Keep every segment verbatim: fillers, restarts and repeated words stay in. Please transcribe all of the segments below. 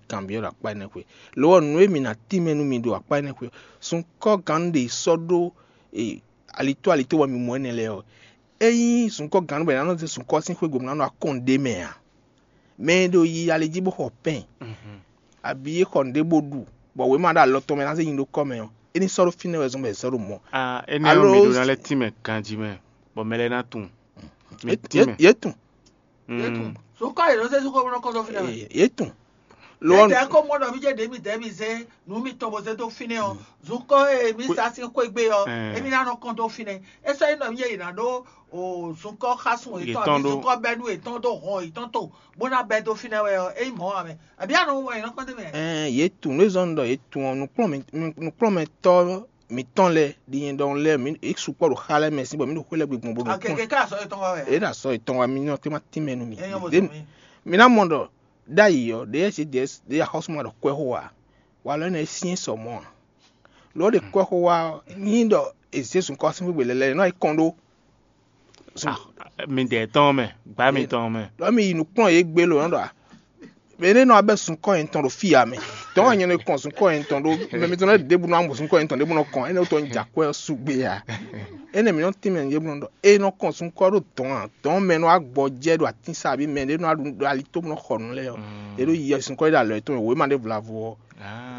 kanbyɔ́ ɖo akpá énɛ́ xwe. Lo ɔ́, nǔ e mǐ ná tínmɛ nú mi ɖo akpá énɛ́ xwe ɔ́, sunkɔ́ gannú ɖě sɔ́ ɖó e, alitó alitó bɔ mi mɔ énɛ́ lɛ́ɛ ɔ́, ényí sunkɔ́ gannú bɔ è nǎ nɔ zé sunkɔ́ sín xwé gbe bó ná nɔ akɔ́n ɖé mɛ ǎ, mɛ e ɖo yi ali jí bó xɔ pɛ́n, abǐ é xɔ nǔɖé bó ɖu, bɔ wěma ɖo alɔ tɔn mɛ ná zé nyi ɖó kɔ́ mɛ ɔ́, é ní sɔ́ ɖó fínɛ́ wɛ zɔ́n bɔ è sɔ́ ɖó mɔ̌. Ah, énɛ́ ɔ́, mi ɖó ná lɛ́ tínmɛ ganjí mɛ, bɔ mɛ lɛ́ɛ ná tunwun. Mi tínmɛ. Yě tunwun. Yě tunwun. Sukɔ yě nɔ zé sukɔ bó nɔ kɔn dó fínɛ́ mɛ. Yě tunwun. Lo ɔ́, tɛ kó mɔ ɖɔ mí jɛ ɖě mi dɛ mi zé nǔ mitɔn bó zé dó fínɛ́ ɔ́, zunkɔ e mi sa sín xwé gbe ɔ́, émi ná nɔ kɔn dó fínɛ́. É sɔ́ nyí ɖɔ mí jɛ yě ná ɖó o zunkɔ xásun yětɔn, abǐ zunkɔ bɛ́nu yětɔn dó hɔn yětɔn to bó ná bɛ́ dó fínɛ́ wɛ ɔ́, é nyí mɔ̌ ǎ mɛ. Abǐ anɔ wɔ yě nɔ kɔn dó mɛ. Ɛɛ, yě tunwun, nú zɔn ɖɔ yě tunwun ɔ́, nǔkplɔ́nmɛ- nǔ- nǔkplɔ́nmɛtɔ́ mǐtɔn lɛ́ɛ ɖi nyɛ ɖɔhun lɛ́ɛ, mǐ é sukpɔ́ ɖo xá lɛ́ɛ mɛ sín bɔ mǐ ɖo xwé lɛ́ɛ gbe gbɔn bó ɖo kpɔ́n. Akeke ká sɔ́ yětɔn wá wɛ. É ɖo asɔ yětɔn wá, mǐ nɔ tɛ́ ma tínmɛ nú mì. Mǐ ná mɔ ɖɔ ɖ'ayǐ ɔ́, ɖě e ɖě axɔ́súma ɖɔ kwɛ́ xó ǎ, walɔ énɛ́ é syɛ́n sɔ mɔ̌ ǎ. Lo ɔ́ ɖe kwɛ́ xó wá ɔ́, nyí ɖɔ è zě zunkɔ́ sín xwé gbe lɛ́lɛ́, è nɔ yi kɔn ɖó. Mi dɛ tɔn mɛ, gbá mitɔn mɛ. Lɔ mi yi nǔkplɔ́n yě gbe lo nɔ ɖɔ a? Mɛ ɖé nɔ abɛ sunkɔ yɛn tɔn ɖo fí ya mɛ. Tɔn wɛ nyɛ nɔ kɔn sunkɔ yɛn tɔn ɖó mɛ mitɔn lɛ ɖěbǔ nɔ amɔ sunkɔ yɛn tɔn ɖěbǔ nɔ kɔn. Énɛ́ wútɔ nyí jǎkwɛ́ ɔ́ sugbe ya. Énɛ́ mǐ nɔ tín mɛ ɖěbǔ nɔ ɖɔ é nɔ kɔn sunkɔ ɖó dɔn a? Dɔn mɛ nɔ agbɔ jɛ ɖo atín sa abǐ mɛ ɖé nɔ ɖo ali tó nɔ xɔ nǔ lɛ́ɛ ɔ́. É ɖo yi sunkɔ ɖo alɔ yětɔn wěma ɖé vlavo ɔ́.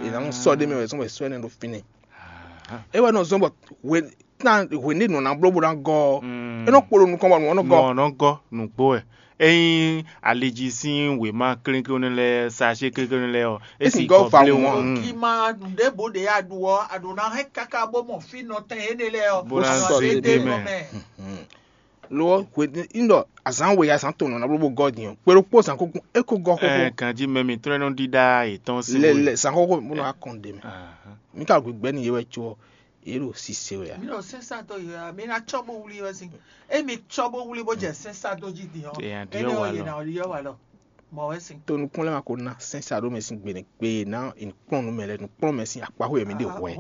È nǎ nɔ sɔ́ ɖé mɛ wɛ zɔn wɛ sɔ́ énɛ́ ɖo fínɛ́. É wɛ nɔ zɔn bɔ hwe tán hwe ní nǔ ná bló bó ná gɔ́ ɔ́, é nɔ kpo ɖo nukɔn bɔ nǔ ɔ́ nɔ gɔ́. Nɔ nɔ gɔ́ nǔgbó wɛ. Ényí ali jí sín wěma kléklénú lɛ́ɛ, sacé kléklénú lɛ́ɛ ɔ́, é Esi sixɔ gɔ́ va blé wú. Wɔn. Kí ma nǔɖé bó ɖě a ɖu ɔ́, a ɖǒ ná hɛn káká bó mɔ fí nɔtɛn énɛ́ lɛ́ɛ ɔ́, Bó ná a nɔ zé zé dé dé mɛ. Mɛ. Lo ɔ́, hwe ní ɖɔ azǎn we azǎn tɔn nɔ ná bló bó gɔ́ din ɔ́, kpe ɖokpó zǎn kúkú é kó gɔ́ xóxó. Ɛ ganjí mɛ mǐtɔn e nɔ ɖíɖá yětɔn sín Lɛ wé. Lɛ zǎn xóxó bó nɔ wá kɔn ɖe mɛ. Ahán. Mi ka gbigbɛ ni yé wɛ có ɔ́, yě ɖo sise wɛ a? Mi ɖo sɛnsatɔ yi wɛ, mi ná tsɔ bó wlí wɛ sín. Emi tsɔ bó wlí bó jɛ sɛnsatɔ jí din ɔ́. Èèyàn ɖi Énɛ́ ɔ́ ɔ́ wà yě lɔ. Ná ɔ́ yɔ wà lɔ. Mɔ wɛ sín. To nukplɔ́n lɛ́ɛ ma ko ná sɛnsatɔ mɛ sín gbe nɛ gbe ná nukplɔ́n nú mɛ lɛ nukplɔ́n mɛ sín akpáxwé mɛ ɖe hwɛ.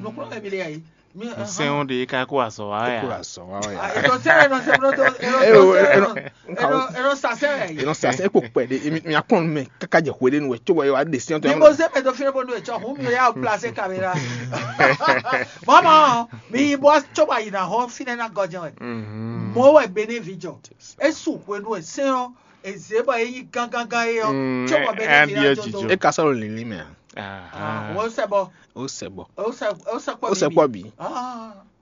Nukplɔ́n mɛ mi lɛ yà yìí. Mi Sɛn ɔ́ ɖe ka kó azɔ wá É kó ya. Azɔ wá wɛ. Ètò sẹ́rẹ̀ nɔ sẹ́rẹ̀ nɔ Ẹ o, ẹ nɔ- Ètò sàsẹ́rẹ̀ yìí. Ìran sase é kò pɛ de mi akɔn mɛ kaka jɛ hwe de nu wɛ tso wɛ wa de sian to Ni mo se mɛ to fine bonu etsɔ hun mi ya place kamera. Mama, mi bo tso ba yina ho fine na gɔjɛ wɛ. Mo wɛ bene vi jɔ. Esu hwenu ese ɔ eze bɔ eyi gangangan ye ɔ. Tso bɔ bene vi na jɔ do. E ka sɔrɔ lili mɛ. Wo sɛ bɔ. O sɛ bɔ. O sɛ o sɛ kpɔ O sɛ kpɔ bi.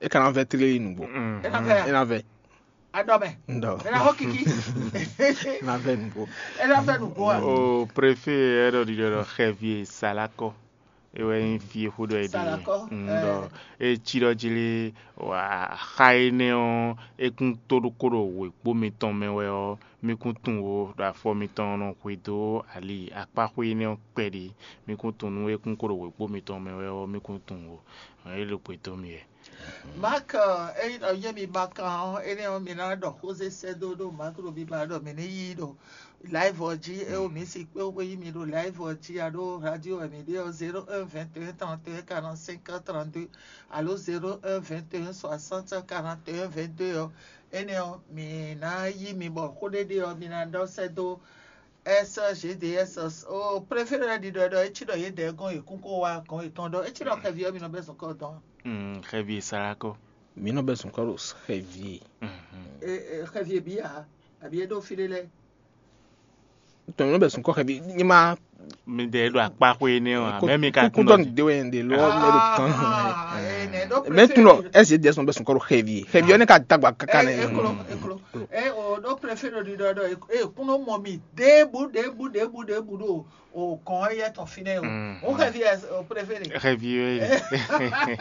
E kana vɛ tleli nugbo. E na vɛ. E na vɛ. Adɔmɛ. Ndɔ. E na ho kiki. Na vɛ nugbo. E na vɛ nugbo a. O préfet ɛ ɖɔ ɖiɖɔ ɖɔ xɛvi e Salakɔ. E wɛ nyí fi e xó ɖɔ e ɖe. Salakɔ. Ndɔ. E tsi ɖɔ jili wa xa énɛ́ ɔ́, e kún tó ɖokó ɖo wěkpó mitɔn mɛ wɛ ɔ́, mi kún tunwun ó ɖo afɔ mitɔn nɔ hwedó ali akpáxwé énɛ́ ɔ́ kpɛɖé. Mi kún tunwun nú e kún kó ɖo wěkpó mitɔn mɛ wɛ ɔ́, mi kún tunwun ó. É ɖo gbe dó mi wɛ. Mark, eyi nɔ yé mi Mark ɔ́, énɛ́ ɔ́ mi ná ɖɔ xózé sɛ́ dó ɖó Mark ɖo biba ɖɔ mi ní yí ɖo live ɔ́ jí, é o mi si kpé wé yí mi ɖo live ɔ́ jí a ɖó radio wɛ mi ɖe ɔ́ zéro un vingt et un trente et un quarante-cinq trente-deux alo zéro un vingt et un soixante quarante et un vingt-deux ɔ́, énɛ́ ɔ́ mi ná yí mi bɔ xó ɖé ɖe ɔ́ mi ná ɖɔ sɛ́ dó S G D S o préféré lɛ́ɛ ɖiɖɔ ɖɔ é cí ɖɔ yě dɛɛ gɔ́n yě kún kó wá gɔ́n yětɔn ɖɔ é cí ɖɔ xɛví ɔ́ mi nɔ bɛ́ zɔn kɔ dɔn. Xɛví Salakɔ. Mi nɔ bɛ́ zɔn kɔ ɖo xɛví. Xɛví bí a àbí é ɖó fí ɖé lɛ́ɛ. Tɔn mi nɔ bɛ́ zɔn kɔ xɛví ní ma. Mi dɛ ɖo akpa xwe énɛ́ ɔ́ mɛ mi ka kún dɔ de wɛ de lɔ mɛ ɖo kan. Mɛ tún lɔ S G D S nɔ bɛ́ zɔn kɔ ɖo xɛví xɛví ɔ́ ne ka dagba kaka nɛ. Eklo eklo. Ɛ o ɖo préféré ɖiɖɔ ɖɔ e kún nɔ mɔ mi ɖěbǔ ɖěbǔ ɖěbǔ ɖěbǔ ɖo o kɔn yɛ tɔn fínɛ́ o. O xɛvi ɛ o préféré. Xɛvi ɛ.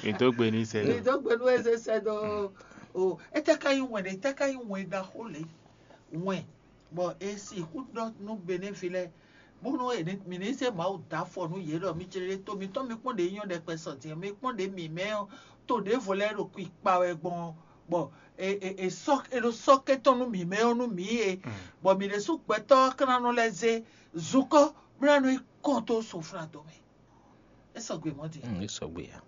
Mi dó gbe ní sɛ. Mi dó gbe nú eze sɛ dó o. Etɛ ka yi wɛn ɖe, etɛ ka yi wɛn ɖaxó lě. Wɛn bɔ e sixú ɖɔ nú Benin vi lɛ bónú mǐ ní zé Mawu dó afɔ nú yě ɖɔ mi jlé to mitɔn mi kpɔ́n ɖě nyɔ́ ɖɛkpɛ sɔ din mi kpɔ́n ɖě mǐmɛ́ ɔ́ to ɖěvo lɛ́ɛ ɖo kwi kpa wɛ gbɔn ɔ́, bɔ è sɔ́ è ɖo sɔ́ kɛ́tɔ́ nú mǐmɛ́ ɔ́ nú mǐ é, bɔ mǐ ɖésú gbɛtɔ́ ɔ́ ka ná nɔ lɛ́ zé zunkɔ́ bó ná nɔ yi kɔn dó soflado mɛ. É sɔgbe mɔ̌ din. Mm, é sɔgbe ya.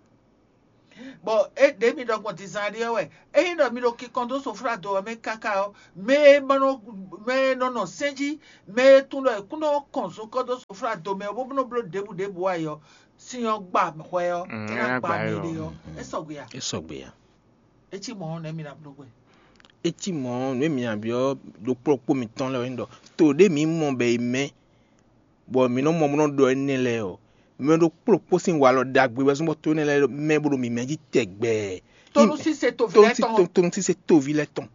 Bɔ é ɖě mi ɖɔ gbɔn dizan ɖi ɔ́ wɛ, ényí ɖɔ mi ɖo kinkɔn dó soflado ɔ́ mɛ káká ɔ́, mɛ e ma nɔ mɛ e nɔ nɔ sɛ́n jí, mɛ e tunwun ɖɔ è kún nɔ kɔn zunkɔ́ dó soflado mɛ ɔ́ bó nɔ bló ɖěbǔ ɖěbǔ ǎ é ɔ́, sin ɔ́ gba hwɛ ɔ́, é ná gba mɛ ɖé ɔ́, é sɔgbe a? É sɔgbe a? É cí mɔ̌ ɔ́, nɛ̌ mi ná bló gbɛn? É cí mɔ̌ ɔ́, nǔ e mi nya byɔ́ ɖokpó ɖokpó mitɔn lɛ́ɛ wɛ nyí ɖɔ to ɖé mǐ mɔ bɔ è mɛ, bɔ mǐ nɔ mɔ bó nɔ́ ɖɔ énɛ́ lɛ́ɛ ɔ́, mɛ ɖokpó ɖokpó sín walɔ ɖagbe wɛ zɔ́n bɔ to énɛ́ lɛ́ɛ mɛ bó ɖo mǐmɛ́ jí tɛgbɛ. Tónúsíse toví lɛ́ɛ tɔn. Tónúsíse toví lɛ́ɛ tɔn.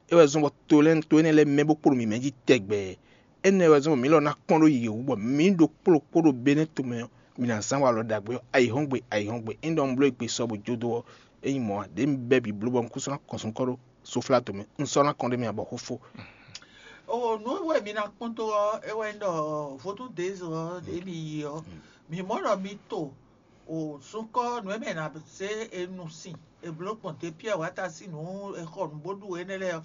É wɛ zɔ́n bɔ to lɛ́ɛ to énɛ́ lɛ́ɛ mɛ bó kpo ɖo mǐmɛ́ jí tɛgbɛ. Énɛ́ wɛ zɔ́n bɔ mǐ lɔ ná kpɔ́n ɖó yě wú bɔ mǐ ɖokpó ɖokpó ɖo Benɛ́ tomɛ ɔ́, mǐ ná zán walɔ ɖagbe ɔ́ ayǐhɔ́ngbe ayǐhɔ́ngbe. Ényí ɖɔ un bló égbé sɔ bó jó dó ɔ́, é nyí mɔ̌ ǎ, ɖě un bɛ́ bǐ bló bɔ un kún sɔ́ ná kɔn sun kɔ́ ɖó soflá tomɛ. Un sɔ́ ná kɔn ɖé mì abɔ xó fó. O nǔ e wɛ mi ná kpɔ́n dó ɔ́, é wɛ nyí ɖɔ vodún dezɔ ɔ́ ɖě mi yi ɔ́, mǐ mɔ ɖɔ mi to o sunkɔ́ nǔ e mɛ è nǎ zé e nu sin è blǒ gbɔn Depiyɛ́ɛ wǎta sín nǔ è xɔ nǔ bó ɖu énɛ́ lɛ́ɛ ɔ́,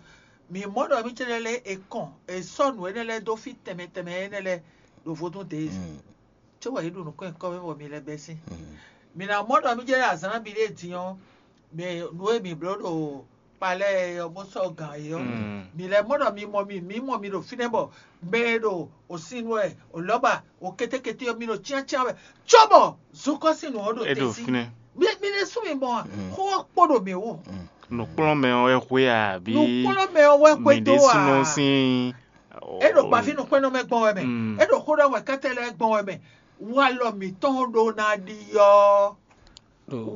mǐ mɔ ɖɔ mì céɖé lɛ́ɛ è kɔn è sɔ́ nǔ énɛ́ lɛ́ɛ dó fí tɛnmɛ tɛnmɛ énɛ́ lɛ́ɛ ɖo vodún dezɔ. Cóbɔ yě ɖo nǔkɔn nyǐkɔ mɛ bɔ mi lɛ́ bɛ́ sín. Mi ná mɔ ɖɔ mì jɛ ɖo azǎn nabí ɖé din ɔ́, mɛ nǔ e mǐ bló ɖo kpa lɛ́ɛ ɔ́ bó sɔ́ gǎn é ɔ́, mǐ lɛ́ mɔ ɖɔ mi mɔ mi mǐ mɔ mi ɖo fínɛ́ bɔ mɛ e ɖo osinu wɛ, olɔ́ba, okétékété ɔ́, mi ɖo cyáncyán wɛ, cóbɔ zokɔ́sínu ɔ́ ɖo É ɖo te sí. Fínɛ́. Mi mi ɖésú mi mɔ a? Xó ɔ́ kpo ɖo mǐ wú. Nǔkplɔ́nmɛ ɔ́ wɛ xwé a, bí Nǔkplɔ́nmɛ ɔ́ wɛ mǐ xwedó ɖésúnɔ a? Sín É ɖo gbafínukpɛ́nnɔ mɛ gbɔn wɛ mɛ. Mm. É ɖo xó ɖɔ wɛ kɛ́tɛ lɛ́ɛ gbɔn wɛ mɛ. Walɔ mǐtɔn ɖó ná ɖiɔ.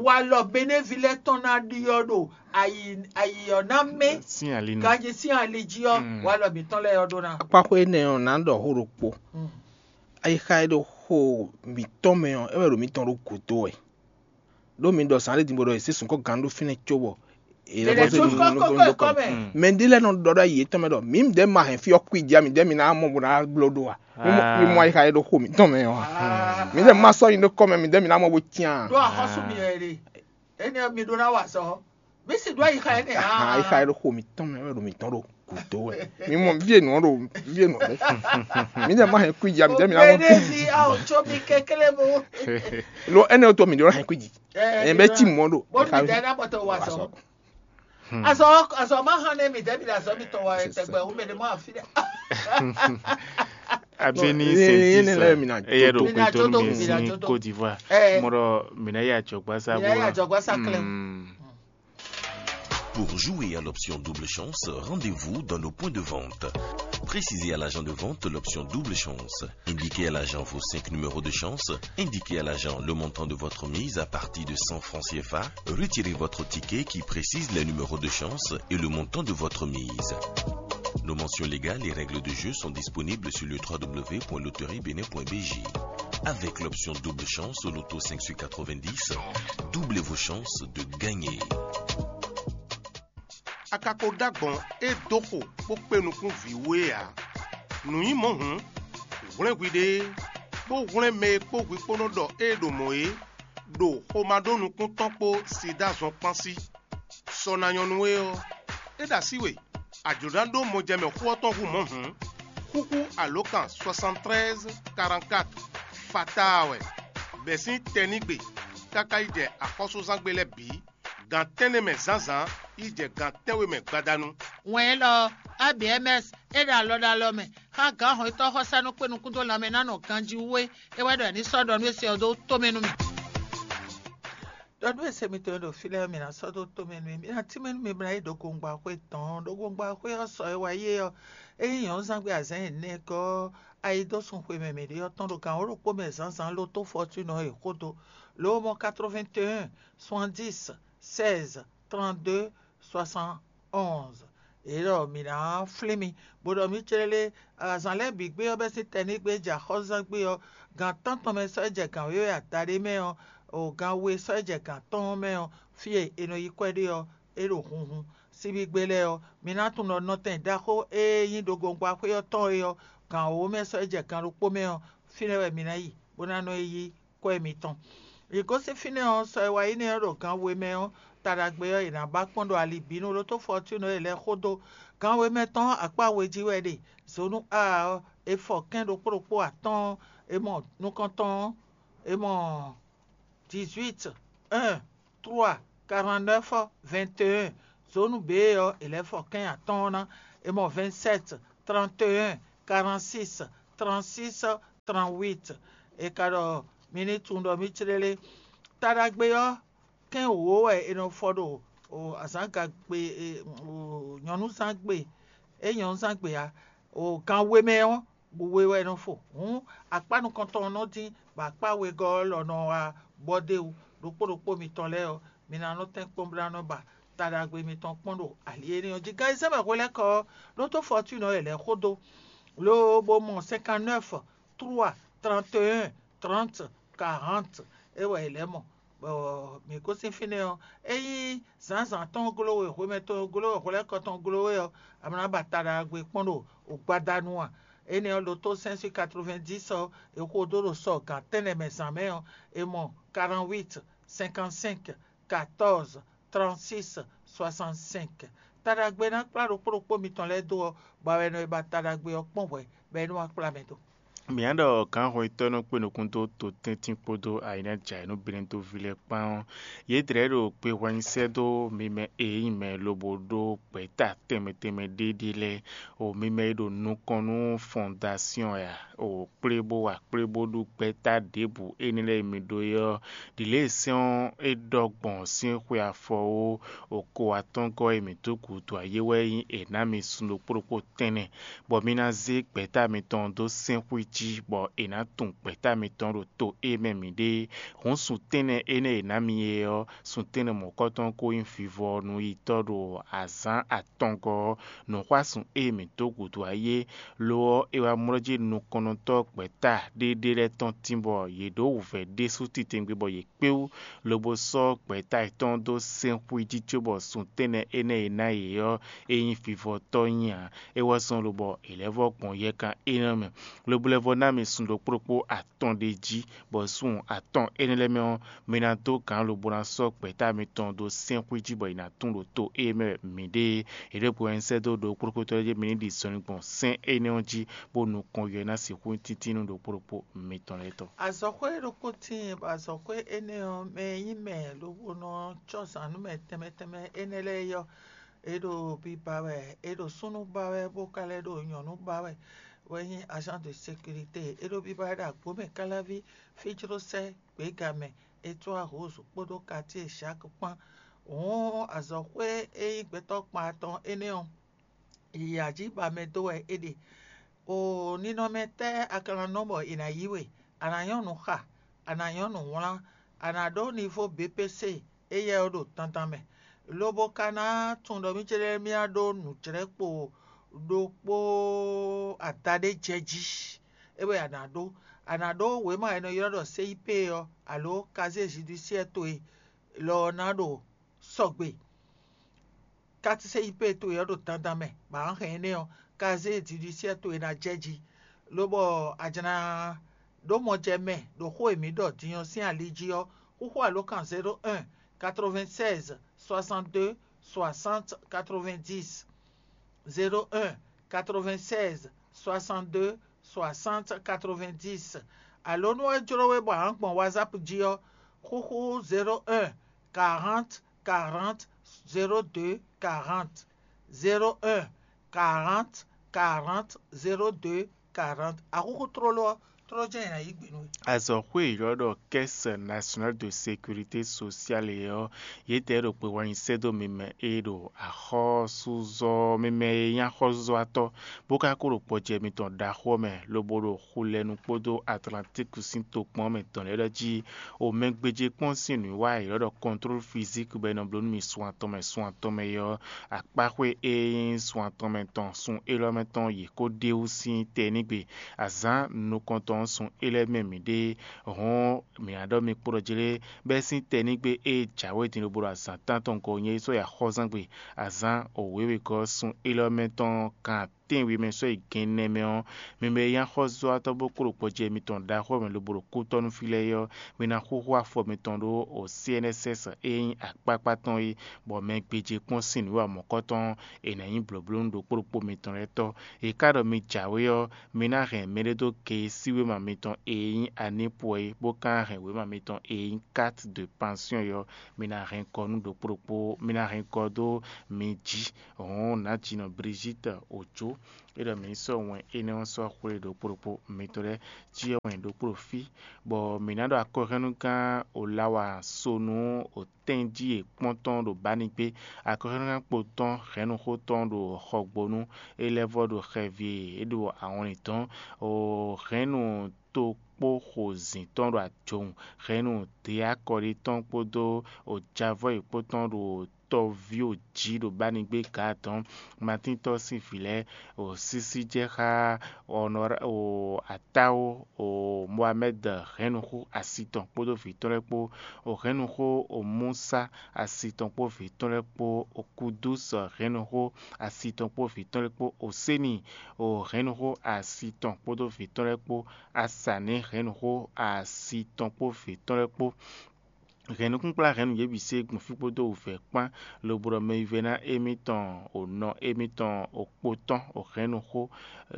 Walɔ Benévi lɛ́ɛ tɔn ná ɖiɔ ɖo ayi ayi ɔ́ ná mɛ. Sín ali nu. Ganjí sín ali jí ɔ́, Mm. Walɔ mǐtɔn lɛ́ɛ ɔ́ ɖó ná. Akpáxwé énɛ́ ɔ́ ná ɖɔ xó ɖokpó. Mm. Ayixa e ɖo xo mǐtɔn mɛ ɔ́, é wɛ ɖo mǐtɔn ɖó gǔdo wɛ. Ɖó mi ɖɔ zǎn ɖé din bó ɖɔ è zě sunkɔ́ gǎn ɖó fínɛ́ cóbɔ è lɛ́ È lɛ́ bɔ sú kɔ́ kɔ́ kɔ́ kɔ́ mɛ. Mɛ ɖé lɛ́ɛ nɔ ɖɔ ɖɔ yě tɔn mɛ ɖɔ mǐ ɖɛ̌ ma hɛn fí ɔ́ kú i jí a mǐ ɖɛ̌ mi ná mɔ bó ná bló ɖó a? Mi mɔ- mi mɔ ayixa e ɖo xo mǐtɔn mɛ ɔ́ a? Mǐ ɖɛ̌ ma sɔ́ nyi ɖó kɔ́ mɛ mǐ ɖɛ̌ mi ná mɔ bó cyán a? Ɖó axɔ́sú mi wɛ ɖe. Énɛ́ ɔ́ mi ɖó ná wa azɔ̌. Mí sì ɖó ayixa énɛ́ Ahan, ayixa e ɖo xo mǐtɔn mɛ wɛ ɖo mǐtɔn ɖo gǔdo wɛ. Mi mɔ vǐ e nǔ ɔ́ ɖo vǐ e nǔ ɔ́ ɖe. Mǐ ɖɛ̌ ma hɛn kú i jí a mǐ ɖɛ̌ mi ná mɔ. Obédévi a ò tsó mi kéklé mo. Lo énɛ́ ɔ́ tó mǐ ɖó hɛn kú i jí. Ɛ, Ɛ bɛ cí mɔ ɖo. Bó mi dɛ ná bɔtɔ wa sɔ. Azɔ azɔ ma hàn ne mi dɛ mi da azɔ mi tɔ wa tɛgbɛ wo mɛ ne ma fi dɛ. Abeni Sentisa eye ɖo kpɛtɔ nu mi sin Côte d'Ivoire. Mɔɖɔ mina ya jɔgba sa bo la. Pour jouer à l'option double chance, rendez-vous dans le point de vente. Précisez à l'agent de vente l'option double chance. Indiquez à l'agent vos cinq numéros de chance. Indiquez à l'agent le montant de votre mise à partir de cent francs C F A. Retirez votre ticket qui précise les numéros de chance et le montant de votre mise. Nos mentions légales et règles de jeu sont disponibles sur le www.loteriebenin.bj. Avec l'option double chance au loto cinq sur quatre-vingt-dix, doublez vos chances de gagner. A ka ko ɖó agbɔ̌n e dó xo bó kpé nukún vǐ wú é ǎ. Nǔ nyí mɔ̌ hǔn, hwlɛ́n hwiɖée, bó hwlɛ́n mɛ e kpó hwi kpó nɔ ɖɔ ée ɖo mɔ̌ é, ɖo xomɛ ɖó nukún tɔn kpó sida zɔn kpán sí. Sɔ ná nyɔ́ nú we ɔ́, é ɖo así we, a jlǒ ná ɖó mɔjɛmɛ xó ɔ́ tɔn hú mɔ̌ hǔn, xúxú alǒkan soixante treize quarante-quatre fataa wɛ, bɛ̌ sín tɛnígbe káká yi jɛ axɔ́súzángbe lɛ́ɛ bǐ, gan tɛ́nnɛ mɛ zǎnzǎn yi jɛ gan tɛ́nwe mɛ gbadanu. Wɛn élɔ́ ɔ́, A B M S é ɖo alɔ ɖo alɔ mɛ xá gǎn hɔnnyitɔ́ xɔsánú kpé nukún dó lanmɛ ná nɔ ganjí wú é, é wɛ ɖɔ è ní sɔ́ ɖɔ nú é se ɔ́ dó tomɛ nú mì. Ɖɔ nú e se mitɔn e ɖo fí lɛ́ɛ ɔ́, mǐ ná sɔ́ dó tomɛ nú mì. Mǐ ná tínmɛ nú mi bó ná yi ɖo gongbaxwé tɔn. Ɖo gongbaxwé ɔ́ sɔ e wá yi é ɔ́, é nyí nyɔ̌nuzángbe azǎn ɛnɛgɔ́ ɔ́, ayidósun xwe mɛ mǐ ɖe ɔ́ tɔn ɖo gan wǒ ɖokpó mɛ zǎnzǎn lótó Fɔtúnɔ e xó dó. Lo mɔ quatre-vingt-un soixante-dix seize trente-deux soixante-onze. Yě ɖɔ mǐ ná flín mi, bó ɖɔ mǐ clélé azǎn lɛ́ɛ bǐ gbé ɔ́ bɛ́ sín tɛnígbe jɛ axɔ́zán gbé ɔ́, gan tántɔn mɛ sɔ́ jɛ gan wěwe adaɖé mɛ ɔ́, o gan we sɔ́ jɛ gan atɔ́ɔ́n mɛ ɔ́, fí e è nɔ yí kwɛ́ ɖe ɔ́, é ɖo hunhun. Síbígbe lɛ́ɛ ɔ́, mi ná tunwun ɖɔ nɔtɛn ɖaxó e nyí ɖogbongbaxwé ɔ́ tɔn é ɔ́, gan wǒ mɛ sɔ́ jɛ gan ɖokpó mɛ ɔ́, fínɛ́ wɛ mi ná yi, bó ná nɔ yi yí kwɛ́ mitɔn. Yě gosín fínɛ́ ɔ́, sɔ e wá yi nɛ́ ɔ́ ɖo gan we mɛ ɔ́, ta ɖagbe ɔ́, è nǎ ba kpɔ́n ɖo alibǐnu lótó Fɔtúnu e lɛ́ xó dó. Gan we mɛ tɔn ɔ́, akpá we jí wɛ è ɖe. Zonu A ɔ́, è fɔ kɛ́n ɖokpó ɖokpó atɔ́ɔ́n, è mɔ nukɔntɔn ɔ́, è mɔ dix-huit, un, trois, quarante-neuf, vingt et un. Zónu B ɔ́, è lɛ́ fɔ kɛ́n atɔ́ɔ́n ná, è mɔ vingt-sept, trente et un, quarante-six, trente-six, trente-huit. È ka ɖɔ mi ní tunwun ɖɔ mì clélé. Taɖagbe ɔ́, kɛ́n wǒ wɛ è nɔ fɔ ɖo azǎngagbe, nyɔ̌núzángbe, é nyɔ̌núzángbe ǎ, gan we mɛ ɔ́, bǔ we wɛ è nɔ fo. Hǔn akpá nukɔntɔn ɔ́ nɔ dín, bɔ akpá wegɔ́ ɔ́ lɔ nɔ wá bɔ d'é wú. Ɖokpó ɖokpó mitɔn lɛ́ɛ ɔ́, mi ná nɔ tɛ́n kpɔ́n bó ná nɔ ba taɖagbe mitɔn kpɔ́n ɖo ali énɛ́ ɔ́ jí. Gan e zɛ mɛ hwelɛ́kɔ ɔ́, ɖótó Fɔtúnɔ e lɛ́ xó dó, ló bó mɔ cinquante-neuf, trois, trente et un, trente, quarante. É wɛ è lɛ́ mɔ, bɔ mǐ gosín fínɛ́ ɔ́, ényí zǎnzǎn tɔn gló we, hwemɛ tɔn gló we, hwelɛ́kɔ tɔn gló we ɔ́, a ma ná ba taɖagbe kpɔ́n ɖo gbadanu a? Énɛ́ ɔ́, ɖótó cinq cent quatre-vingt-dix ɔ́, è xo dó ɖo sɔ gǎn tɛ́nnɛ mɛ zǎn mɛ ɔ́, è mɔ quarante-huit, cinquante-cinq, quatorze, trente-six, soixante-cinq. Taɖagbe ná kplá ɖokpó ɖokpó mitɔn lɛ́ɛ dó ɔ́, bɔ a wɛ nɔ e ba taɖagbe ɔ́ kpɔ́n hwɛ̌, bɔ é nɔ wá kplá mɛ dó. Mǐ ná ɖɔ gǎnhwɛntɔ́ e nɔ kpé nukún dó totɛ́ntin kpódó ayǐnájǎyǐnúbɛ́nnúví lɛ́ɛ kpán ɔ́, yědɛɛ ɖo kpehwannyi sɛ́ dó mi mɛ e nyí mɛ lobo ɖó gbɛ̌ta tɛnmɛ tɛnmɛ ɖé ɖé lɛ́ɛ, o mi mɛ e ɖo nukɔn nú fɔndasyɔn ɛ a, o kplé bó wa kplé bó ɖu gbɛ́ta ɖěbǔ énɛ́ lɛ́ɛ e mi ɖó é ɔ́, ɖi lě e sɛ́n ɔ́ é ɖɔ gbɔn sín xwe afɔ ó, o ko atɔ́ngɔ́ e mǐ dó gǔdo ayé wɛ nyí è nǎ mi sun ɖokpó ɖokpó tɛ́nnɛ, bɔ mi ná zé gbɛ̌ta mitɔn dó sɛ́nxwí jí, bɔ è nǎ tunwun gbɛ̌ta mitɔn ɖo to e mɛ mǐ ɖe. Hǔn sun tɛ́nnɛ énɛ́ e è nǎ mi é ɔ́, sun tɛ́nnɛ mɔ̌kɔtɔn ko nyí vivɔ nú yi tɔ́ ɖo azǎn atɔngɔ́ ɔ́, nǔxwásún e mǐ dó gǔdo ayé, lo ɔ́, è wá mlɔ́ jí nukɔnnɔtɔ́ gbɛ̌ta ɖéɖé lɛ́ɛ tɔn tín bɔ yě ɖǒ wǔvɛ́ ɖésú titewungbe bɔ yě kpé wú, lobo sɔ́ gbɛ̌ta yětɔn dó sɛ́nxwí jí cóbɔ sun tɛ́nnɛ énɛ́ e ná yě ɔ́, é nyí vivɔtɔ́ nyi ǎ. É wɛ zɔ́n lobɔ è lɛ́ vɔ́ gbɔn yɛkan énɛ́ mɛ, lobo lɛ́ vɔ́ ná mì sun ɖokpó ɖokpó atɔn ɖé jí, bɔ sun atɔn énɛ́ lɛ́ɛ mɛ ɔ́, mi ná dó gǎn lobo ná sɔ́ gbɛ̌ta mitɔn dó sɛ́nxwí jí bɔ è nǎ tunwun ɖo to e mɛ mǐ ɖe é. È ɖo gbe wɛ un sɛ́ dó ɖokpó ɖokpó tɔn lɛ́ɛ jí mi ní ɖi zɔnlin gbɔn sɛ́n énɛ́ ɔ́ jí, bó nukɔn yɔ ná sixú nyí tíntínnu ɖokpó ɖokpó mitɔn lɛ́ɛ tɔn. Azɔ̌xwé ɖokpó tíin, bɔ azɔ̌xwé énɛ́ ɔ́, mɛ e nyí mɛ lobo nɔ cɔ́ zǎn nú mɛ tɛnmɛ tɛnmɛ énɛ́ lɛ́ɛ é ɔ́, é ɖo biba wɛ, é ɖo súnnu ba wɛ, bó ka lɛ́ ɖo nyɔ̌nu ba wɛ, wɛ nyí agent de sécurité. É ɖo biba wɛ ɖo Agbǒmɛ Káláví, Fíjlósɛ́, Gběgamɛ, Étwá Rose kpódó Katíe Jacques kpán. Hǔn azɔ̌xwé e nyí gbɛtɔ́ kpan atɔn énɛ́ ɔ́, yǎ jí ba mɛ dó wɛ é ɖe. O ninɔmɛ tɛ́ a ka ná nɔ bɔ è nǎ yí we? A nǎ nyɔ́ nǔ xa, a nǎ nyɔ́ nǔ wlán, a nǎ ɖó nivo B P C éyɛ́ ɔ́ ɖo dandan mɛ, lobo ka ná tunwun ɖɔ mì céɖémíá ɖó nǔjlɛ́kpo ɖokpó adaɖé jɛ jí. É wɛ a nǎ ɖó. A nǎ ɖó wěma e è nɔ ylɔ́ ɖɔ C I P ɔ́, alǒ casier judiciaire towe lɔ ɔ́ ná ɖo sɔgbe. Carte C I P towe ɔ́ ɖo dandan mɛ, bɔ a hɛn énɛ́ ɔ́, casier judiciaire towe ná jɛ jí, lobɔ a jlá ɖó mɔjɛmɛ ɖo xó e mǐ ɖɔ din ɔ́ sín ali jí ɔ́, xúxú alǒkan zéro un, quatre-vingt-seize, soixante-deux, soixante, quatre-vingt-dix, zéro un, quatre-vingt-seize, soixante-deux, soixante, quatre-vingt-dix. Alǒ nú é jló we bɔ a nǎ gbɔn WhatsApp jí ɔ́, xúxú zéro un, quarante, quarante, zéro deux, quarante, zéro un, quarante, quarante, zéro deux, quarante. Axúxú tlóló ɔ́, tlóló jɛ́n è nǎ yí gbe nú we. Azɔ̌xwé e ylɔ́ ɖɔ Caisse Nationale de Sécurité Sociale é ɔ́, yětɛɛ ɖo kpe wá nyi sɛ́ dó mi mɛ e ɖo axɔ́súzɔ, mi mɛ e nyí axɔ́súzɔ́watɔ́, bó ka ko ɖo gbɔjɛ mitɔn ɖaxó ɔ́ mɛ, lobo ɖo Xulɛnu kpódó Atlantíku sín tokpɔn ɔ́ mɛ tɔn lɛ́ɛ ɖɔ jí, o mɛ gbéjé kpɔ́n sín nǔwiwa e è ylɔ́ ɖɔ contrôle physique bɔ è nɔ bló nú mi sun atɔn mɛ sun atɔn mɛ é ɔ́, akpáxwé e nyí sun atɔn mɛ tɔn sun élɔ́ mɛ tɔn yě ko ɖe wú sín tɛnígbe. Azǎn nukɔntɔn ɔ́ sun élɔ́ mɛ mǐ ɖe, hɔn mǐ ná ɖɔ mi kpo ɖɔ jlé, bɛ́ sín tɛnígbe e jǎwe din lobo ɖo azǎn tántɔn gɔ́ nyɛ yi sɔ́ yi axɔ́zangbe, azǎn wěwegɔ́ sun élɔ́ mɛ tɔn kan tɛ́nwe mɛ sɔ́ yi gɛnnɛ mɛ ɔ́, mi mɛ e nyí axɔ́zɔ́watɔ́ bó kpló gbɔjɛ́ mitɔn ɖaxó mɛ lobo ɖo kútɔ́ nú fí lɛ́ɛ é ɔ́, mi ná xúxú afɔ mitɔn ɖó o C N S S e nyí akpákpá tɔn é, bɔ mɛ gbéjé kpɔ́n sín nǔwiwa mɔ̌kɔtɔn ɔ́, è nǎ nyí blǒblónú ɖokpó ɖokpó mitɔn lɛ́ɛ tɔ́. È ká ɖɔ mi jǎwe ɔ́, mi ná hɛn mɛɖé dó ke e sín wéma mitɔn e nyí anípɔ é, bó ka hɛn wěma mitɔn e nyí carte de pension é ɔ́, mi ná hɛn kɔ nú ɖokpó ɖokpó, mi ná hɛn kɔ dó mi jí. Hɔn nǎjínɔ Brigitte Ojo, é ɖɔ mǐ sɔ́ wɛn énɛ́ ɔ́ sɔ́ xwlé ɖokpó ɖokpó mitɔn lɛ́ɛ jí ɔ́ wɛn ɖokpó ɖo fí, bɔ mǐ ná ɖɔ akɔhɛ́nnugán Olawa Sonu o tɛ́njí e kpɔ́n tɔn ɖo Banigbé, akɔhɛ́nnugán kpo tɔn hɛ̌nnuxó tɔn ɖo Xɔgbónu, é lɛ́ vɔ́ ɖo xɛvi e é ɖo ahɔnlin dɔn, o hɛ̌nnu tokpó xozǐn tɔn ɖo ajɔwun, hɛ̌nnu deakɔɖi tɔn kpódó o javɔ́yi kpó tɔn ɖo tɔví o jí ɖo Banigbé Gaadɔn, Matíntɔ́ sín vǐ lɛ́ɛ, o sísí jɛ xá Atáwo, o Mohamɛ́d hɛ̌nnuxó asi tɔn kpódó vǐ tɔn lɛ́ɛ kpó, o hɛ̌nnuxó o Musa asi tɔn kpó vǐ tɔn lɛ́ɛ kpó, o Kudús hɛ̌nnuxó asi tɔn kpó vǐ tɔn lɛ́ɛ kpó, o Séni o hɛ̌nnuxó asi tɔn kpódó vǐ tɔn lɛ́ɛ kpó, Asaní hɛ̌nnuxó asi tɔn kpó vǐ tɔn lɛ́ɛ kpó. Hɛ̌nnukúnkplá hɛ̌nnu yě bǐ se gbɔn fí kpódó wǔvɛ́ kpán, lobo ɖɔ mɛ e vɛ́ná émítɔn o nɔ émítɔn o kpo tɔn o hɛ̌nnu xó,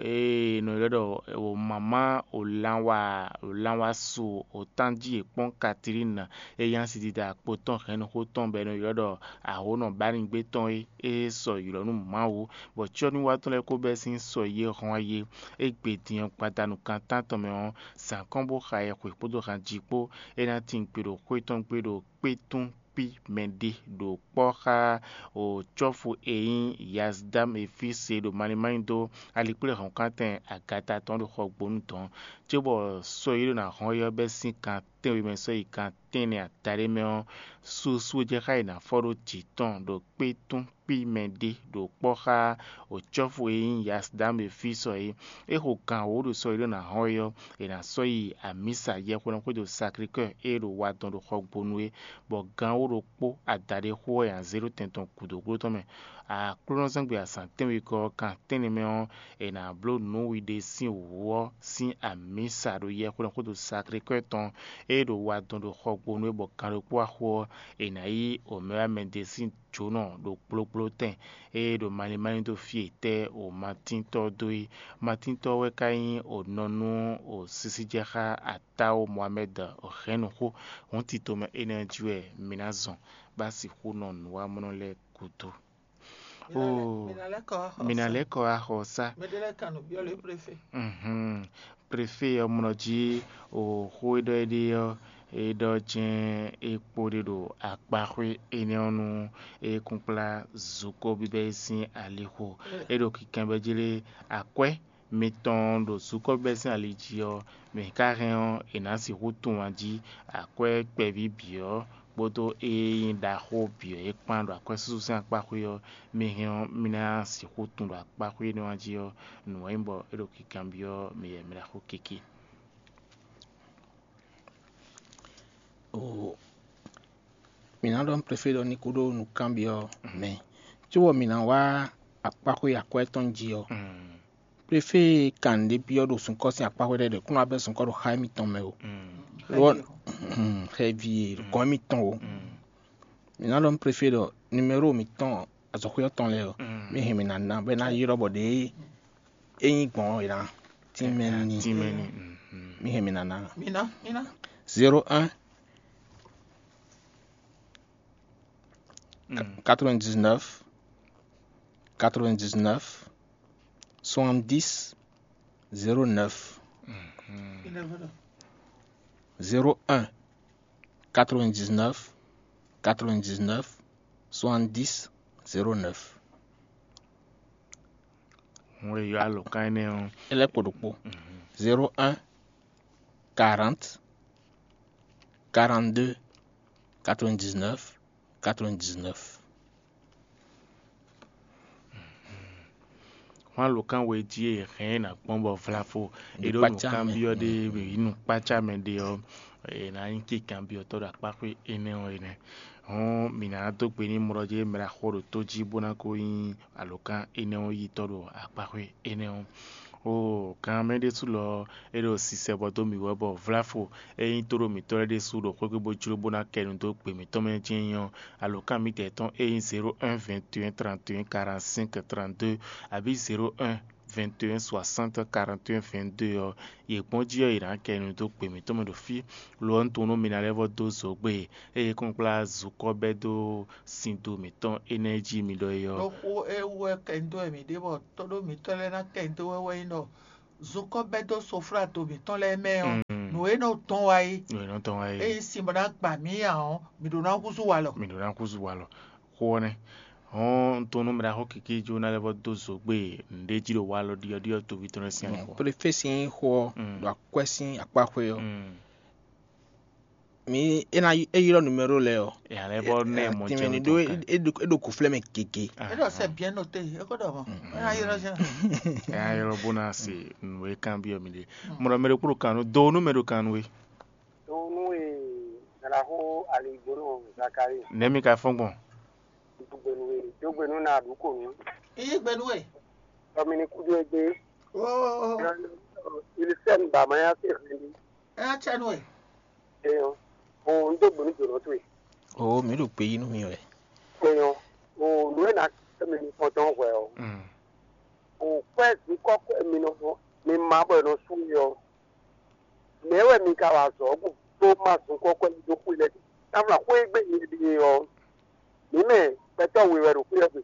e è nɔ ylɔ́ ɖɔ o mamá o lanwa o lanwa su o tánjí e kpɔ́n Katilín, e nyí asidida kpo tɔn hɛ̌nnu xó tɔn bɔ è nɔ ylɔ́ ɖɔ ahǒnɔ Bánigbé tɔn é, é sɔ ylɔ̌ nú Mawu, bɔ cyɔ́núwatɔ́ lɛ́ɛ ko bɛ́ sín sɔ yě hɔn ayé. É gbe din ɔ́ gbadanu kan tántɔn mɛ ɔ́, zǎn kɔn bó xa yɛhwe kpódó hanji kpó. É ná tín gbe ɖo xwé tɔn gbe ɖo kpétún kpí mɛɖé ɖo kpɔ́ xá o cɔ́fu e nyí Yazdam e fí se ɖo malímálí dó alikplé hɔ̌nkántɛn agata tɔn ɖo xɔgbónu dɔn, cóbɔ sɔ́ e ɖó ná hɔn é ɔ́ bɛ́ sín kan tɛ́nwe mɛ sɔ́ yi kan tɛ́nnɛ adaɖé mɛ ɔ́, susu e jɛ xá e ná fɔ ɖó jǐ tɔn ɖo kpétún kpí mɛɖé ɖo kpɔ́ xá o cɔ́fu e nyí Yazdam e fí sɔ é. É xo gan wǒ ɖo sɔ́ e ɖó ná hɔn é ɔ́, è nǎ sɔ́ yi amǐsa yɛhweɖɔn xwédo Sacré-Cœur e ɖo wa dɔn ɖo xɔgbónu é, bɔ gan wǒ ɖokpó adaɖé xó ɔ́ è nǎ zé ɖó tɛn tɔn gǔdo gbló tɔn mɛ. Aklúnɔzɔ́ngbe azǎn tɛ́nwegɔ́ ɔ́, gan tɛ́nnɛ mɛ ɔ́, è nǎ bló nǔ wiɖe sín wǔ ɔ́ sín amǐsa ɖo yɛhweɖɔn xwédo Sacré-Cœur tɔn e ɖo wa dɔn ɖo xɔgbónu é, bɔ gan ɖokpó axó ɔ́, è nǎ yí omɛwamɛde sín jǒnɔ ɖo gblógblótɛn e ɖo malín málín dó fí e tɛ́ o Matíntɔ́ dó é. Matíntɔ́ wɛ ka nyí o nɔ nú o sísíjɛxá Atáwo Mohamɛ́d o hɛ̌nnu xó. Hǔn tito mɛ énɛ́ ɔ́ jí wɛ mi ná zɔn, bó ná sixú nɔ nǔwamlɔ́ lɛ́ɛ gúdo. Oo, mi ná lɛ́ kɔ wá xɔ mǐ ná sá. Lɛ́ kɔ wá xɔ sá. Mɛɖé lɛ́ɛ kan nǔ byɔ́ lě préfé. Mhm. Préfé ɔ́ mlɔ jí o xó e ɖɔ é ɖe ɔ́, é ɖɔ jɛ́n é kpo ɖe ɖo akpaxwé énɛ́ ɔ́ nú é kún kplá zukɔ́ bíbɛ́ é sín alixo. É ɖo kinkanbyɔ́ jí lé, akwɛ́ mitɔn ɖo zukɔ́ bíbɛ́ sín ali jí ɔ́, mɛ ka hɛn ɔ́, è nǎ sixú tunwun jí akwɛ́ kpɛví bǐ ɔ́ kpódó e nyí ɖaxó bǐ ɔ́ é kpán ɖo akwɛ́súsú sín akpaxwé ɔ́, mi hɛn ɔ́, mi ná sixú tunwun ɖo akpaxwé énɛ́ ɔ́ jí ɔ́, nǔ e nyí bɔ é ɖo kinkanbyɔ́ mi yɛ mi ɖaxó kiki. Oo, mǐ ná ɖɔ nú préfé ɖɔ ní kúɖó nǔkanbyɔ́ mɛ, cóbɔ mǐ ná wá akpaxwé akwɛ́ tɔn jí ɔ́, préfé kan ɖě byɔ́ ɖo sunkɔ́ sín akpaxwé lɛ́ɛ ɖě kún ná bɛ́ sunkɔ́ ɖo xá émítɔn mɛ o, lo ɔ́, xɛvi e gɔ̌n émítɔn o. Mǐ ná ɖɔ nú préfé ɖɔ numéro mǐtɔn azɔ̌xwé ɔ́ tɔn lɛ́ɛ ɔ́, mí hɛn mǐ ná ná bɔ é ná ylɔ́ bɔ ɖěe é nyí gbɔn ɔ́ è nǎ tínmɛ n'i. Tínmɛ n'i. Mí hɛn mǐ ná ná. Mina, mina. Zéro un, quatre-vingt-dix-neuf, quatre-vingt-dix-neuf, soixante-dix, zéro neuf. Mina, mina. Zéro un, quatre-vingt-dix-neuf, quatre-vingt-dix-neuf, soixante-dix, zéro neuf. Wọ́n yɔ alɔ̀kan énɛ́ ɔ́. É lɛ́ kpo ɖokpó. Zéro un, quarante, quarante-deux, quatre-vingt-dix-neuf, quatre-vingt-dix-neuf. Hwan alɔ̀kan we jí e hɛn ná gbɔn bɔ vlafo e ɖo nǔkanbyɔ́ ɖé yi nukpácá mɛ ɖé ɔ́, è nǎ nyí kinkanbyɔ́tɔ́ ɖo akpáxwé énɛ́ ɔ́ énɛ́. Hɔn mǐ ná dó gbe n'i mlɔ́ jí mɛ ɖaxó ɖo tó jí bó ná ko nyí alǒkan énɛ́ ɔ́ yitɔ́ ɖo akpaxwé énɛ́ ɔ́. Oo, gan mɛ ɖésú lɔ ɔ́, é ɖo sisɛ bɔ dó mǐ wɛ bɔ vláfo e nyí tóɖó mǐtɔn lɛ́ɛ ɖésú ɖo xwé gbe bó jló bó ná kɛ nu dó gbe mǐtɔn mɛ jɛ́n nyí ɔ́, alǒkan mǐtɛn tɔn e nyí zéro un vingt et un trente et un quarante-cinq trente-deux abǐ zéro un vingt et un soixante quarante et un vingt-deux ɔ́, yě gbɔn jí ɔ́, yě ná kɛ nu dó gbe mǐtɔn mɛ ɖo fí. Lo ɔ́, un tunwun nú mi ná lɛ́ vɔ́ dó zǒgbé, ée kplɔ́nkplɔ́n zukɔ́ bɛ́ dó sin do mǐtɔn énɛ́ jí mi ɖɔ é ɔ́. Ɖó xó e wú wɛ kɛ nyi dó wɛ mǐ ɖe bɔ tóɖó mǐtɔn lɛ́ɛ ná kɛ nyi dó wɛ wɛ nyí ɖɔ zukɔ́ bɛ́ dó sofláto mǐtɔn lɛ́ɛ mɛ ɔ́, nǔ e nɔ tɔn wá é. Nǔ e nɔ tɔn wá é. Eye sin bɔ ná gba mǐ nya ɔ́, mǐ ɖó ná húzú walɔ. Mǐ ɖó ná húzú walɔ. Xó ɔ́ nɛ́. Hɔn un tunwun nú mɛ ɖaxó kikí jó ná lɛ́ vɔ́ dó zǒgbé nǔɖé jí ɖo walɔ ɖiɔɖiɔ toví tɔn lɛ́ɛ sín anyixɔ. Préfé sín xó ɔ́, ɖo akwɛ́ sín akpáxwé ɔ́, mi é ná é ylɔ́ numéro lɛ́ɛ ɔ́. Ɛ alɛ bɔ nɛ mɔ jɛ tinmɛ ni ɖó é ɖo kuflɛ mɛ gege. É ɖo sɛ bien noté, é ko ɖɔ mɔ. É ná ylɔ́ jɛ. Ɛ ayɔ bó ná se nǔ e kanbyɔ́ mi ɖe. Mɔ ɖɔ mɛ ɖokpó ɖo kan nú do nú mɛ ɖo kan nú we. Donu e nalaxo aligbonu Zakari. Nɛ̌ mi ka fɔ́n gbɔn? Dugbenu e dogbenu na ɖu ko nu. Iye gbenu e. Tɔmini kudo egbe. Oh. Ilisɛn ba ma ya se hɛn. Ɛ atsɛ nu e. Eyɔn. O n do gbenu jɔnɔ to e. O mi ɖo gbe yi nú mi wɛ. Eyɔn. O nu e na tɔmini kɔntɔn hwɛ o. O kwɛ zukɔ kwɛ mi nɔ mi ma bɔ nɔ su yɔ. Nɛ̌ wɛ mi ka wa azɔ̌ bó dó má zun kɔ́kɔ́ yi dó xwé lɛ́ɛ? Táfla xwé e gbe mi ɖe ɔ́, mǐ mɛ gbɛtɔ́ we wɛ ɖo xwé ɔ́ gbe.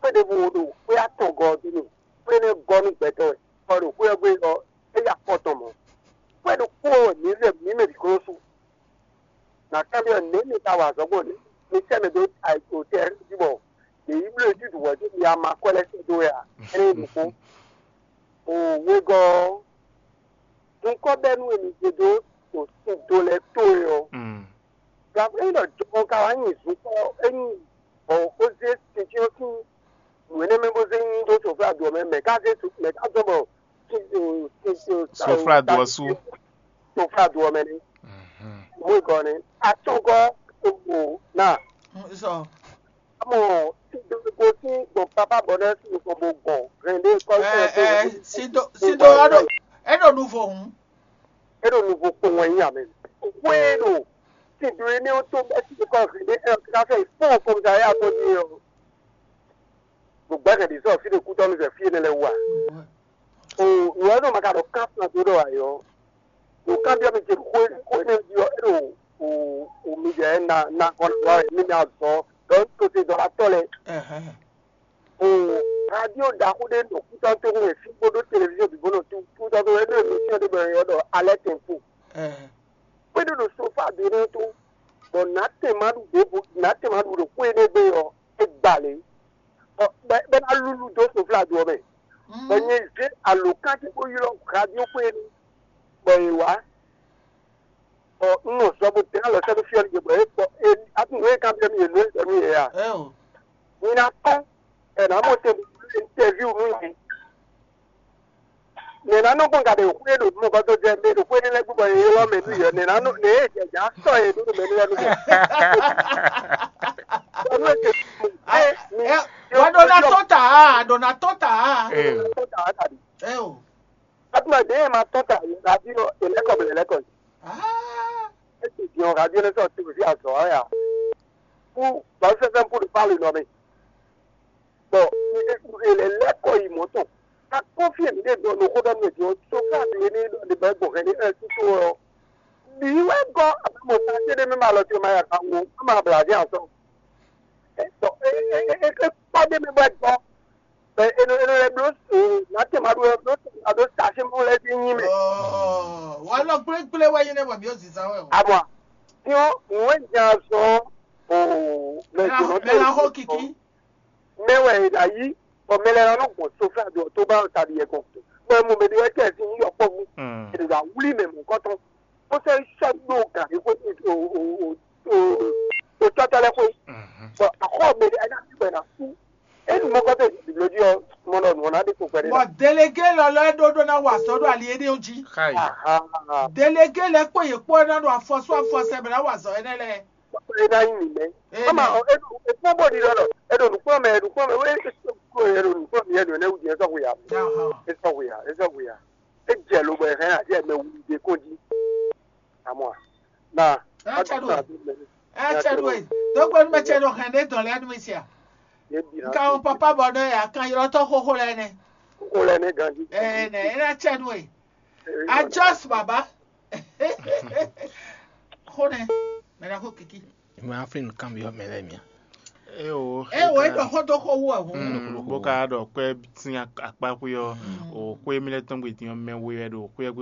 Xwé ɖěvo ɖo xwé atɔngɔ́ ɔ́ dó mì, xwé énɛ́ gɔ́ nú gbɛtɔ́ wɛ, bɔ ɖo xwé ɔ́ gbe ɔ́, é yi afɔ tɔn mɔ̌. Xwé ɖokpó wɛ mǐ lɛ mǐ mɛ bǐ ko nɔ su. Nǎ kanbyɔ́ nɛ̌ mi ka wa azɔ̌ gbɔn nɛ̌? Mi sɛ́ mɛ dó ayǐkúngban jí bɔ yě yi bló jí ɖu hwɛ̌ dó mi ama kɔ́ lɛ́ɛ sɛ́ dó wɛ a? Énɛ́ nyí ɖokpó. O wegɔ́ ɔ́, zunkɔ́bɛ́nú e mi zé dó ɖo sin do lɛ́ɛ tó é ɔ́, gǎnflɛ́n ɖɔ jɔhɔn ka wá nyi zunkɔ́ ényí bɔ xó zé sin jí ɔ́ sín nǔ énɛ́ mɛ bó zé nyi dó soflado ɔ́ mɛ, mɛ ka zé mɛ ka zɔ́n bɔ Soflado ɔ́ su. Soflado ɔ́ mɛ nɛ́. Mú igɔ́ nɛ́. Atɔngɔ́ o na. Sɔ. Amɔ sídó sín gbɔn pápá bɔ nɛ́ sín gbɔn bó gbɔn hɛn ɖé kɔ. Ɛ ɛ sídó sídó ɔ́ ɖo é ɖo nuvo hǔn. É ɖo nuvo kpɔn wɛ nyí amɛ. Wé ɖo sídó énɛ́ ɔ́ tó bɛ́ sídó kɔ hɛn ɖé ɛ ɔ́ ká fɛ fún ọkọ mi ta yá tó ní ɔ. Ɖo gbɛ́ hɛn ɖě sɔ fí ɖé kútɔ́ nú zɛ fí énɛ́ lɛ́ɛ wú a? O nǔ ɔ́ nɔ ma ka ɖɔ kán fún agbó ɖɔ ayɔ. Ɖo kanbyɔ́ mi ce xó xó énɛ́ jí ɔ́, é ɖo o o mi jɛ na na kɔn na wa wɛ mi mi azɔ ɖɔ un to te dɔlatɔ́ lɛ́ɛ. O radio ɖaxó ɖé ɖo kútɔ́ tó wɛ fí bó ɖó televizíɔn bǐ bó nɔ tú kútɔ́ tó wɛ é ɖó émission ɖé bɔ è ylɔ́ ɖɔ alɛ́ tɛnpo. Xwé ɖé ɖo sofa ɖé nɛ́ tó, bɔ nǎ tɛn ma ɖu ɖěvo nǎ tɛn ma ɖu ɖo xwé énɛ́ gbe ɔ́, é gba lě. Bɔ bɔ é ná lúlú dó soflado ɔ́ mɛ. Bɔ nyɛ zé alǒkan ce bó ylɔ́ radio xwé énɛ́, bɔ è wá. Bɔ un nɔ zɔ bó dɛn alɔ sɛ́ dó fí ɔ́ nìyɛ, bɔ é kpɔ é atin nǔ e kanbyɔ́ mì yě nú é ɖɔ nú yě a? Mi ná kpɔ́n, è nǎ mɔ te interview nú nyɛ. Nɛ̌ ná nɔ gbɔn gaɖe xwé ɖo mɔgɔtɔ jɛ mɛ ɖo xwé ní lɛ́ gbígbɔ yě ylɔ́ mɛ nú yě ɔ́, nɛ̌ ná nɔ nɛ̌ e jɛ jǎ sɔ yě ɖó mɛ nú lɛ́ nú mɛ. Ɔnú e te mi Wà ɖo ná tɔ́n ta a? Ɖo ná tɔ́n ta a? Ee. Tɔ́n ta a tàbí? Ɛ o. Atúmọ̀ dé e ma tɔ́n ta yě ná bí ɔ èlẹ́kọ̀ bẹ̀rẹ̀ lẹ́kọ̀ yìí. Ah. E ti di ɔn radio ne sɔ ti fi azɔ ɔ́ ya. Kú bàbá fẹ́fẹ́ ń kú ní pálí nɔ mi. Bɔn è lɛ lɛ́ kɔ yi mɔ̌ tɔn. Akpɔ́n fí e mǐ ɖe ɖɔ nǔ xó ɖɔ nú mɛ din ɔ́, sofá mi ní ɖɔ ɖe bɔ gbɔn hɛn ní ɛ tútú ɔ́. Bǐ wɛ gɔ́ abamɔ ta cé ɖé mɛ ma lɔ ce ma ya ka wo, ma ma bla dín azɔn. Ɛ tɔ é é é é kpá ɖé mɛ bɔ gɔ́. Bɛ eno eno lɛ bló su, nǎ tɛ ma ɖó ɛ bló tɛ ma ɖó sasé mɔ lɛ dín nyi mɛ. Wà á lɔ gblégblé wɛ nyí nɛ bɔ mǐ ó zǐzá wɛ o. Abɔ, tiɲɔ nǔ e nya azɔn o mɛ jǒnɔ tó. Mɛ la xɔ kiki. Mɛ wɛ è nǎ yí, bɔ mɛ lɛ́ɛ nɔ gbɔn soflá do ɔ́ tó ba ɔ́ taɖi yɛ gbɔn. Bɔ mɔ mɛ ɖé wɛ tɛ sin yɔkpɔ́vú, è nɔ wlí mɛ mɔ̌kɔtɔn, bó sɔ́ yi sɔ́ ɖó gǎn é xwé, o o o o o tɔ́tɔ́ lɛ́ɛ xwé. Bɔ axɔ mɛ ɖé ɛ́ ná sí bɔ è nǎ sú. É nu mɔ̌kɔtɔn è nǐ bló jí ɔ́, mɔ ɖɔ nǔ ɔ́ ná ɖe kpokpɛ Bɔ delege lɔlɔ e ɖó ɖó ná wa azɔ̌ ɖo ali énɛ́ jí. Xayi. Aha. Delege lɛ́ɛ kpó yě kpó ná ɖo afɔsú afɔsɛ bɛ ná wa azɔ̌ énɛ́ lɛ́ɛ. E ná nyí mǐmɛ́. Ee, Ama ɔ, e ɖo e kpɔ́n bɔ ɖiɖɔ ɖɔ e ɖo nǔkplɔ́n mɛ, e ɖo nǔkplɔ́n mɛ, e e ɖo nǔkplɔ́n mɛ, e ɖo nɛ́ wú din, e sɔ́ hwe ya. Ahɔn. E sɔ́ hwe ya, e sɔ́ hwe ya. E jɛ lo bɔ e hɛn aɖe mɛ wú ɖe kɔn jí. Amɔ a. Na. Ɛ cɛ ɖo e. Ɛ cɛ ɖo e. Dɔgbe nu mɛ cɛ ɖo hɛn ɖe dɔn lɛ nu mi sia. Ye bi na. Nka wɔn papa bɔ ɖɔ ya kan ylɔ tɔ xoxo lɛ nɛ. Ko lɛ ne ganji. Ɛ nɛ e na cɛ nu e. Ajɔs baba. Xo nɛ. Mɛ na xo kiki. Ìmọ̀ àfin nìkan bí ọmọ ẹlẹ́mìí. E o. E wo e dɔ xɔ dɔ xɔ wu ahun. Bó ka ɖɔ kpɛ sin akpa xwé ɔ, o xwé mi lɛ tɔn gbe din ɔ mɛ we wɛ ɖo xwé